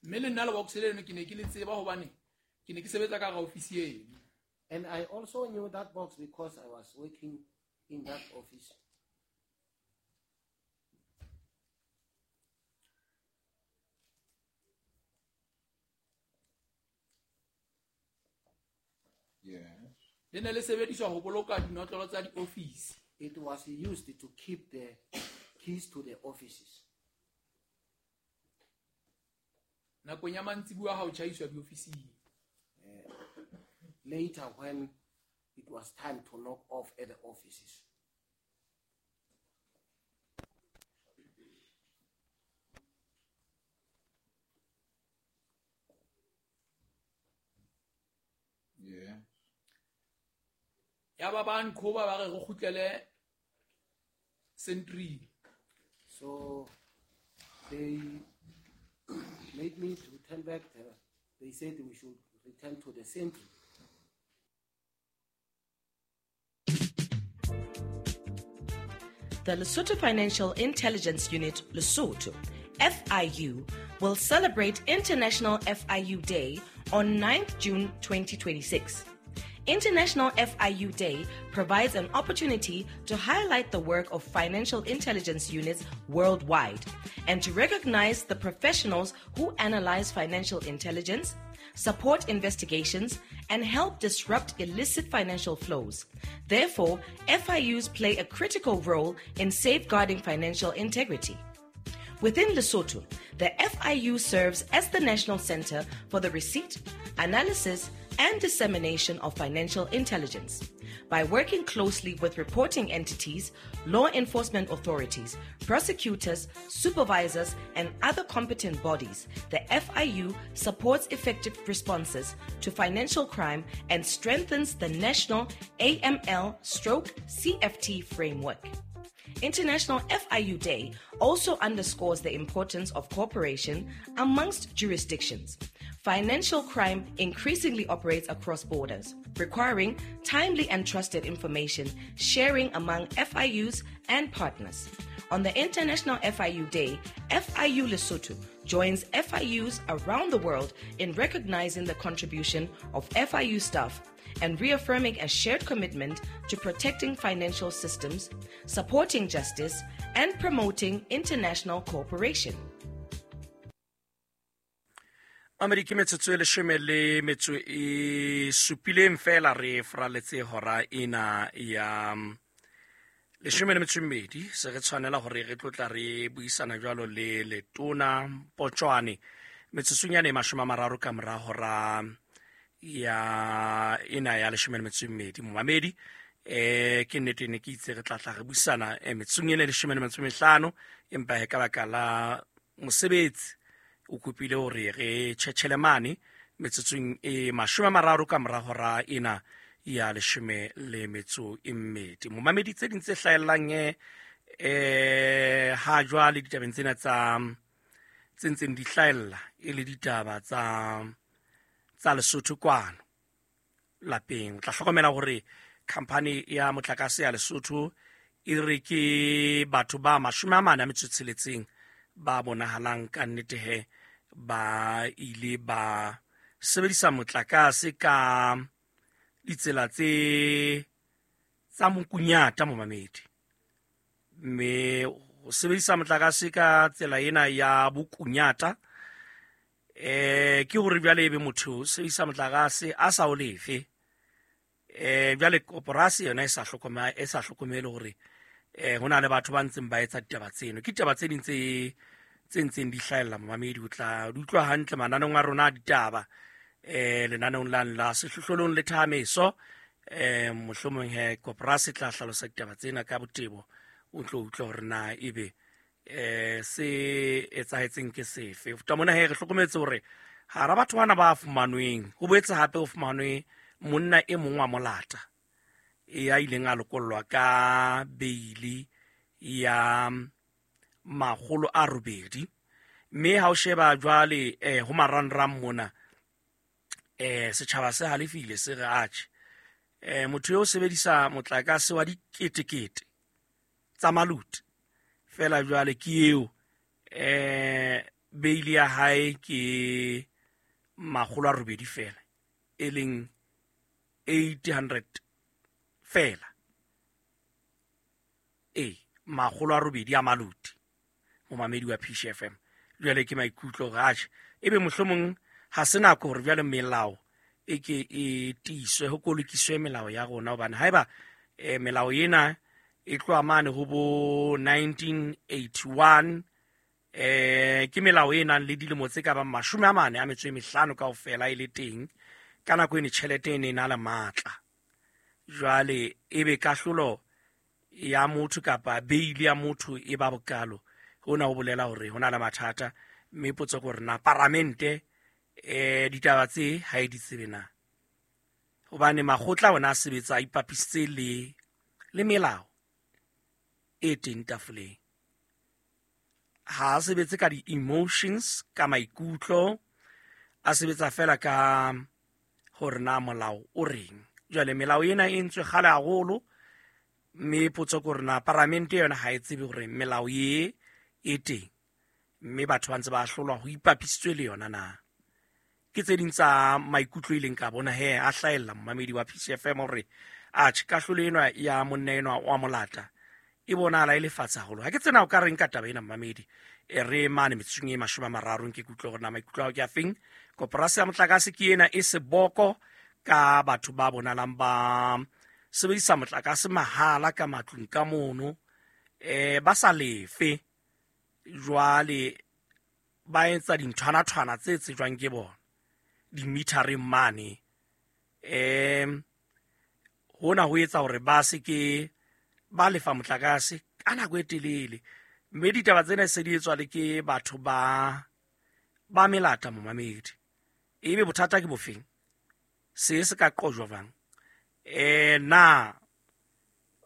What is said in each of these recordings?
Mme le nna lebox leno ke ne ke le tseba hobane ke ne ke sebetsa ka hara ofisi eno. And I also knew that box because I was working in that office. Yes. Le ne le sebediswa ho boloka dinotlolo tsa diofisi. It was used to keep the keys to the offices. Nakong ya mantsibuya ha ho tjhaiswa diofising. Later when it was time to knock off at the offices. Yeah. Yaba ba nqhoba ba re re kgutlele sentry. So they made me to turn back. They said we should return to the sentry. The Lesotho Financial Intelligence Unit, Lesotho, FIU, will celebrate International FIU Day on 9th June 2026. International FIU Day provides an opportunity to highlight the work of financial intelligence units worldwide and to recognize the professionals who analyze financial intelligence, support investigations, and help disrupt illicit financial flows. Therefore, FIUs play a critical role in safeguarding financial integrity. Within Lesotho, the FIU serves as the national center for the receipt, analysis, and dissemination of financial intelligence. By working closely with reporting entities, law enforcement authorities, prosecutors, supervisors, and other competent bodies, the FIU supports effective responses to financial crime and strengthens the national AML/CFT framework. International FIU Day also underscores the importance of cooperation amongst jurisdictions. Financial crime increasingly operates across borders, requiring timely and trusted information sharing among FIUs and partners. On the International FIU Day, FIU Lesotho joins FIUs around the world in recognizing the contribution of FIU staff and reaffirming a shared commitment to protecting financial systems, supporting justice, and promoting international cooperation. Mamedi ke metsotso e leshome le metso e supileng fela re fraletse hora ena ya leshome le metso e mmedi. Se re tshwanela hore re tlotla re buisana jwalo le letona Potshwane metsotsong yane e mashome a mararo ka mora hora ya ena ya leshome le metso e mmedi. Momamedi, ke nnete ne ke itse re tla tla re buisana metsotsong ena e leshome le metso e mehlano, empa he ka baka la mosebetsi o kopile hore re tjhetjhele mane metsotsong e mashome a mararo ka mora hora ena ya leshome le metso e mmedi. Momamedi, tse ding tse hlahellang ha jwale ditabeng tsena tsa tse ntseng di hlahella e le ditaba tsa Lesotho kwano lapeng. O tla hlokomela hore khampani ya motlakase ya Lesotho e re ke batho ba mashome a mane a metso e tsheletseng ba bonahalang ka nnete he ba ile ba sebedisa motlakase ka ditsela tse tsa mokunyata momamedi. Mme ho sebedisa motlakase ka tsela ena ya bokunyata, ke hore jwale ebe motho o sebedisa motlakase a sa o lefe. Jwale koporasi yona e sa hlokomele hore ho na le batho ba ntseng ba etsa ditaba tseno. Ke ditaba tse ding tse ntseng di hlahella momamedi, o tla di utlwa hantle mananeong a rona a ditaba, lenaneong la la sehlohlolong le thameso. Mohlomong he koporasi e tla hlalosa ditaba tsena ka botebo, o tlo utlwa hore na ebe se etsahetseng ke sefe. Ho feta mona he re hlokometse hore hara batho bana ba fumanweng, ho boetse hape ho fumanwe monna e mong wa molata ya ileng a lokollwa ka beili ya makgolo a robedi. Mme ha o sheba jwale ho marangrang mona, setjhaba se halefile, se re atjhe, motho eo sebedisa motlakase wa diketekete tsa maluti fela jwale ke eo Beili ya hae ke 800 fela, e leng 800 fela. E 800 a maloti momamedi wa PCFM. Jwale ke maikutlo hore atjhe ebe mohlomong ha se nako hore jwale melao e ke e tiiswe, ho kolokiswe melao ya rona, hobane haeba melao ena e tloha mane ho bo 1981, ke melao e nang le dilemo tse ka bang 45 kaofela e le teng. Ka nako ene tjhelete e ne e na le matla. Jwale ebe kahlolo ya motho kapa beili ya motho e ba bokalo, hona ho bolela hore ho na le mathata. Mme potso ke hore na paramente ditaba tse ha e di tsebe na, hobane makgotla ona a sebetsa a ipapisitse le melao e teng tafoleng. Ha a sebetse ka di-emotions, ka maikutlo, a sebetsa fela ka hore na molao o reng. Jwale melao ena e entswe kgale haholo, mme potso ke hore na paramente yona ha e tsebe hore melao e e teng, mme batho ba ntse ba hlolwa ho ipapisitswe le yona na. Ke tse ding tsa maikutlo e leng ka bona he a hlahella momamedi wa PCFM hore atjhe kahlolo enwa ya monna enwa wa molata e bonahala e le fatshe haholo. Ha ke tsena o ka reng ka taba ena momamedi, e re mane metsotsong e 30 ke kutlwe hore na maikutlo ao ke a feng. Koporasi ya motlakase ke ena e seboko ka batho ba bonalang ba sebedisa motlakase mahala ka matlung ka mono, ba sa lefe. Jwale ba etsa dinthwana-thwana tse tsejwang ke bona di-metereng mane. Hona ho etsa hore ba se ke ba lefa motlakase ka nako e telele. Mme ditaba tsena se di etswa le ke batho ba melata momamedi. Ebe bothata ke bofeng? Se se ka qojwa jwang? Na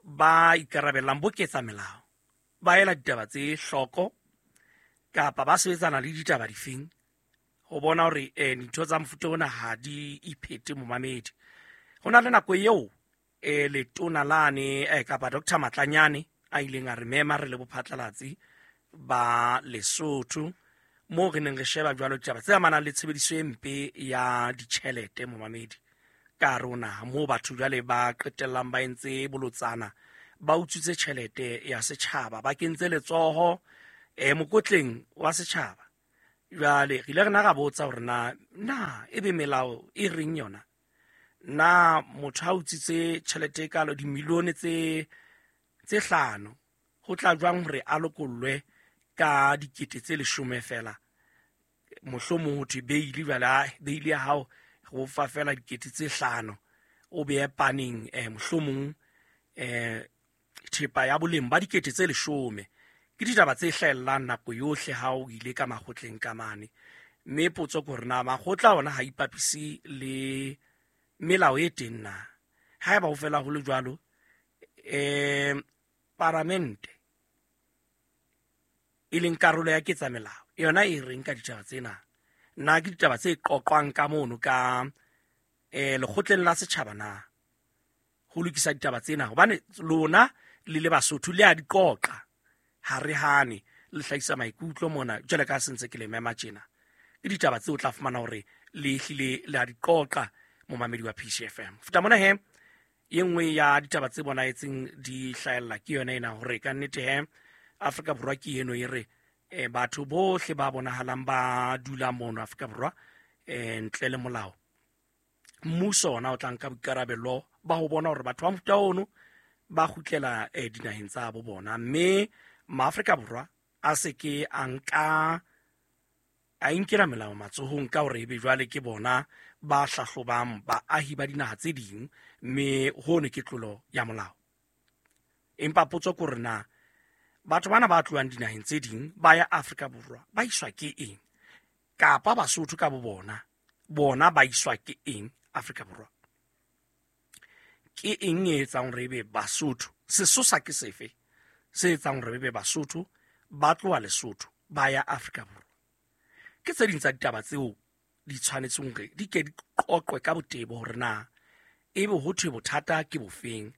ba ikarabellang bo ketsa melao ba ela ditaba tse hloko kapa ba sebetsana le ditaba difeng ho bona hore dintho tsa mofuta ona ha di iphete momamedi. Ho na le nako eo letona lane kapa Dr. Matlanyane a ileng a re mema re le bophatlalatsi ba Lesotho, moo re neng re sheba jwalo ditaba tse amanang le tshebediso e mpe ya ditjhelete momamedi ka rona, moo batho jwale ba qetellang ba entse bolotsana, ba utswitse tjhelete ya setjhaba, ba kentse letsoho mokotleng wa setjhaba. Jwale re ile re na ra botsa hore na ebe melao e reng yona, na motho ha utswitse tjhelete e kalo dimilione tse 5 ho tla jwang hore a lokollwe ka dikete tse 10 fela? Mohlomong ho thwe beili, jwale beili ya hao ho fa fela dikete tse 5 o beye paneng mohlomong thepa ya boleng ba dikete tse 10. Ke ditaba tse hlahellang nako yohle ha o ile ka makgotleng ka mane. Mme potso ke hore na makgotla ona ha ipapise le melao e teng na. Haeba ho fela ho le jwalo, paramente e leng karolo ya ketsa melao yona e reng ka ditaba tsena? Na ke ditaba tse qoqwang ka mono ka lekgotleng la setjhaba na ho lokisa ditaba tsena? Hobane lona le le Basotho le a di qoqa, ha re hane, le hlahisa maikutlo mona jwale ka sentse ke le mema tjena. Ke ditaba tseo o tla fumana hore le hlile le a di qoqa momamedi wa PCFM. Futa mona he e nngwe ya ditaba tse bonahetseng di hlahella ke yona ena hore ka nnete he Afrika Borwa ke eno e re batho bohle ba bonahalang ba dula mono Afrika Borwa ntle le molao, mmuso ona o tla nka boikarabelo ba ho bona hore batho ba mofuta ono ba kgutlela dinaheng tsa bo bona, mme maAfrika Borwa a se ke a nka a inkela melao matsohong ka hore ebe jwale ke bona ba hlahlobang baahi ba dinaha tse ding, mme hono ke tlolo ya molao. Empa potso ke hore na batho bana ba tlohang dinaheng tse ding ba ya Afrika Borwa ba iswa ke eng, kapa Basotho ka bo bona ba iswa ke eng Afrika Borwa? Ke eng e etsang hore ebe Basotho, sesosa ke sefe se etsang hore ebe Basotho ba tloha Lesotho ba ya Afrika Borwa? Ke tse ding tsa ditaba tseo di tshwanetseng hore di ke di qoqwe ka botebo hore na ebe ho thwe bothata ke bofeng,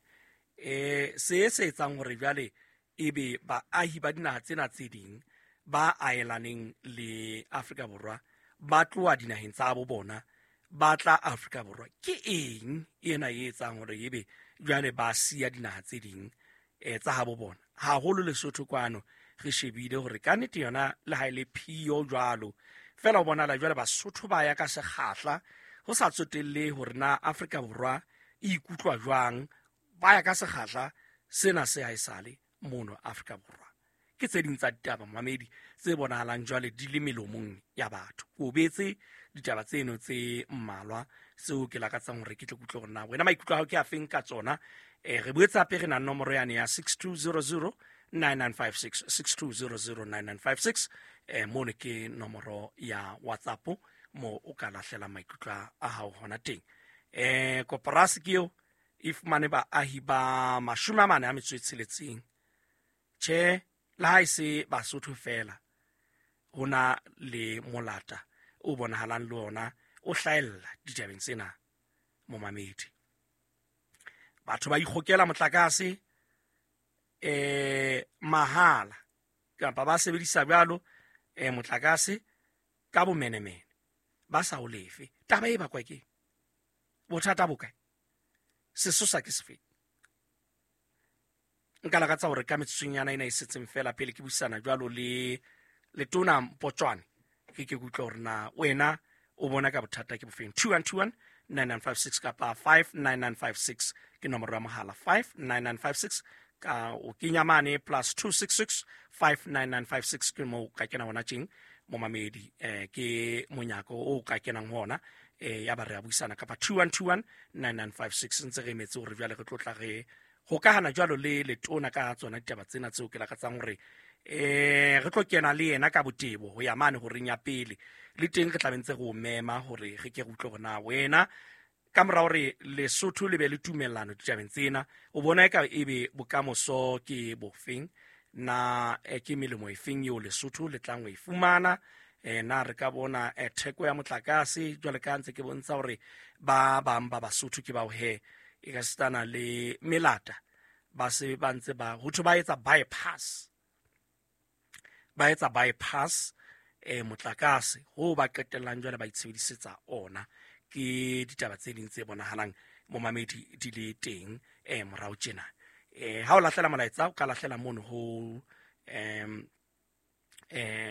se se etsang hore jwale ebe baahi ba dinaha tsena tse ding Ba aelaneng le Afrika Borwa ba tloha dinaheng tsa bo bona ba tla Afrika Borwa. Ke eng ena e etsang hore ebe jwale ba siya dinaha tse ding tsa habo bona, haholo Lesotho kwano? Re shebile hore ka nnete yona le ha e le phiyo jwalo fela, o bonala jwale Basotho ba ya ka sekgahla, ho sa tsotelle hore na Afrika Borwa e ikutlwa jwang. Ba ya ka sekgahla sena se ha esale mono Afrika Borwa. Ke tse ding tsa ditaba, mamedi, tse bonahalang jwale di le melomong ya batho. Ko betse ditaba tseno tse mmalwa tseo ke lakatsang hore ke tle kutlwe hore na wena maikutlo a hao ke a feng ka tsona. Re boetse hape re na nomoro yane ya 6200 9956, 6200 9956. Mono ke nomoro ya WhatsApp mo o ka lahlela maikutlo a hao hona teng. Koporasi ke eo e fumane baahi ba 46. Tjhe, le ha e se Basotho fela, ho na le molata o bonahalang le ona o hlahella ditabeng tsena, momamedi. Batho ba ikgokela motlakase mahala kapa ba sebedisa jwalo motlakase ka bomenemene ba sa o lefe. Taba e bakwa ke bothata bo kae? Sesosa ke sefeng? Nka lakatsa hore ka metsotsonyana ena e setseng fela pele ke buisana jwalo le letona Mpotswane, ke kutlwa hore na wena o bona ka bothata ke bofeng. 2121 9956 kapa 59956 ke nomoro ya mohala, 59956 ka o kenya mane +266 59956 ke mo ka kena hona tjeng, momamedi. Ke monyako o ka kenang ho ona ya ba re a buisana, kapa 2121 9956. Ntse re emetse hore jwale re tlo tla re hokahana jwalo le letona ka tsona ditaba tsena tseo ke lakatsang hore re tlo kena le yena ka botebo ho ya mane horeng ya pele. Le teng re tla be ntse re o mema hore re ke re utlwe hore na wena, ka mora hore Lesotho le be le tumellano ditabeng tsena, o bona eka ebe bokamoso ke bofeng na? Ke melemo efeng eo Lesotho le tlang ho e fumana? Na re ka bona theko ya motlakase jwale ka ntse ke bontsha hore ba bang ba Basotho ke bao he e ka sitana le melata ba se ba ntse ba ho thwe ba etsa bypass, ba etsa bypass motlakase ho ba qetellang jwale ba itshebedisetsa ona. Ke ditaba tse ding tse bonahalang, momamedi, di le teng morao tjena. Ha o lahlela molaetsa, o ka lahlela mono ho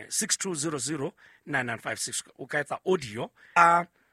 6200 9956, o ka etsa audio a.